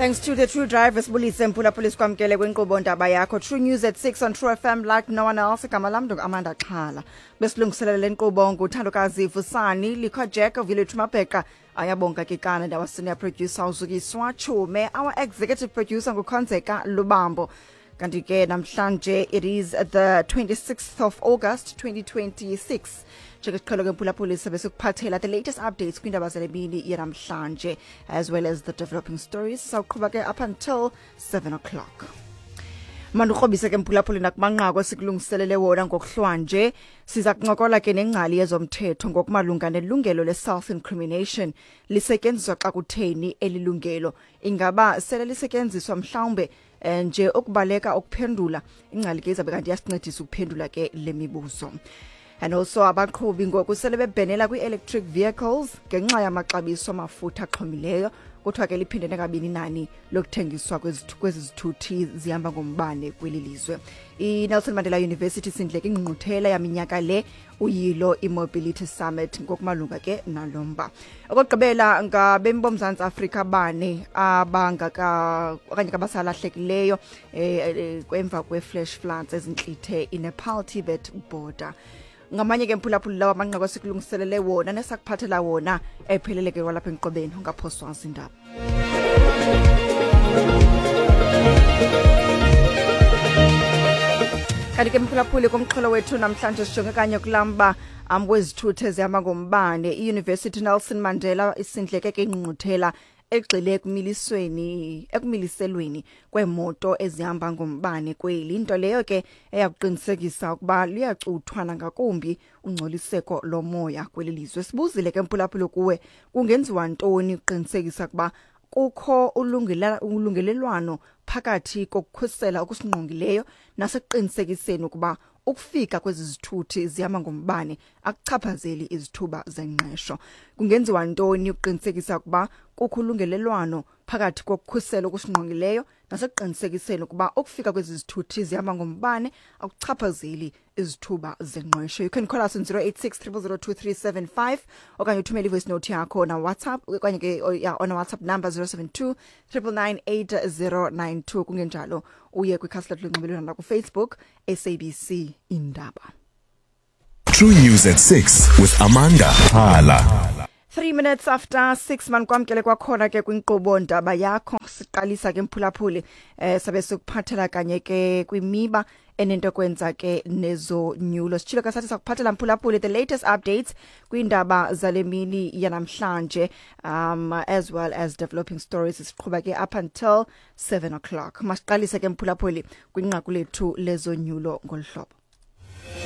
Thanks to the True Driver, sibulise mphulaphuli, sikwamkele kwinkqubo Ndaba Yakho, True News at 6 on True FM like no one else. Igama lam Amanda Xhala. Besilungiselele le nkqubo nguthandokazi Vusani Likho, Jack Village Mabheqa, Ayabonga Kikana, and our senior producer uZukiswa Chume, our executive producer nguKhonzeka Lubambo. Kanti ke namhlanje it is the 26th of August 2026. Njengesiqhelo ke mphulaphuli, sabe sikuphathela the latest updates kwiindaba zale mini yanamhlanje as well as the developing stories. Sawuqhuba ke up until 7 o'clock. Mandikrobise ke mphulaphuli nakumanqaku esikulungiselele wona ngokuhlwanje. Siza kuncokola ke nengcali yezomthetho ngokumalunga nelungelo le-self incrimination. Lisetyenziswa xa kutheni eli lungelo? Ingaba sele lisetyenziswa mhlawumbe nje ukubaleka ukuphendula? Ingcali ke izabe kanti iyasincedisa ukuphendula ke le mibuzo. And also, abaqhubi ngoku sele bebhenela kwi-electric vehicles ngenxa yamaxabiso amafutha axhomileyo. Kuthiwa ke liphindene kabini inani lokuthengiswa kwezi zithuthi zihamba ngombane kweli lizwe. I-Nelson Mandela University sindleke ingqungquthela yaminyaka le, uyilo i-Mobility Summit, ngokumalunga ke nalomba. Okokugqibela, ngabemi boMzantsi Afrika bane abangaka okanye kabasalahlekileyo emva kwe-flash floods ezintlithe iNepal Tibet border. Ngamanye ke mphulaphuli lawo amanqaku esikulungiselele wona nesakuphathela wona ephelele ke kwalapha enkqubeni. Ungaphoswa zindaba. Kanti ke mphulaphuli, kumxholo wethu namhlanje sijonge kanye kulamba wezithuthi ezihamba ngombane. I-University Nelson Mandela isindleke ke ingqungquthela egxile ekumiliselweni kweemoto ezihamba ngombane kweli, into leyo ke eyakuqinisekisa ukuba luyacuthwa nangakumbi ungcoliseko lomoya kweli lizwe. Sibuzile ke mphulaphuli kuwe, kungenziwa ntoni ukuqinisekisa ukuba kukho ulungelelwano phakathi kokukhusela okusingqongileyo nasekuqinisekiseni ukuba ukufika kwezi zithuthi zihamba ngombane akuchaphazeli izithuba zengqesho? Kungenziwa ntoni ukuqinisekisa ukuba kukho ulungelelwano phakathi kokukhusela okusingqongileyo nasekuqinisekiseni ukuba ukufika kwezi zithuthi zihamba ngombane akuchaphazeli izithuba zengqesho? You can call us on 086 0002375 okanye uthumele ivoice note yakho na WhatsApp okanye ke yeah, on WhatsApp number 072 9998092. Kungenjalo uye kwikhasi lethu lonxibelelwano lakuFacebook, SABC Indaba. True News at 6 with Amanda Hala. 3 minutes after 6, manikwamkele kwakhona ke kwinkqubo Ndaba Yakho. Siqalisa ke mphulaphuli, sabe sikuphathela kanye ke kwimiba enento kwenza ke nezonyulo. Sitshilo ke sathi sakuphathela mphulaphuli the latest updates kwiindaba zale mini yanamhlanje as well as developing stories. Siqhuba ke up until 7 o'clock. Masiqalise ke mphulaphuli kwinqaku lethu lezonyulo ngolu hlobo.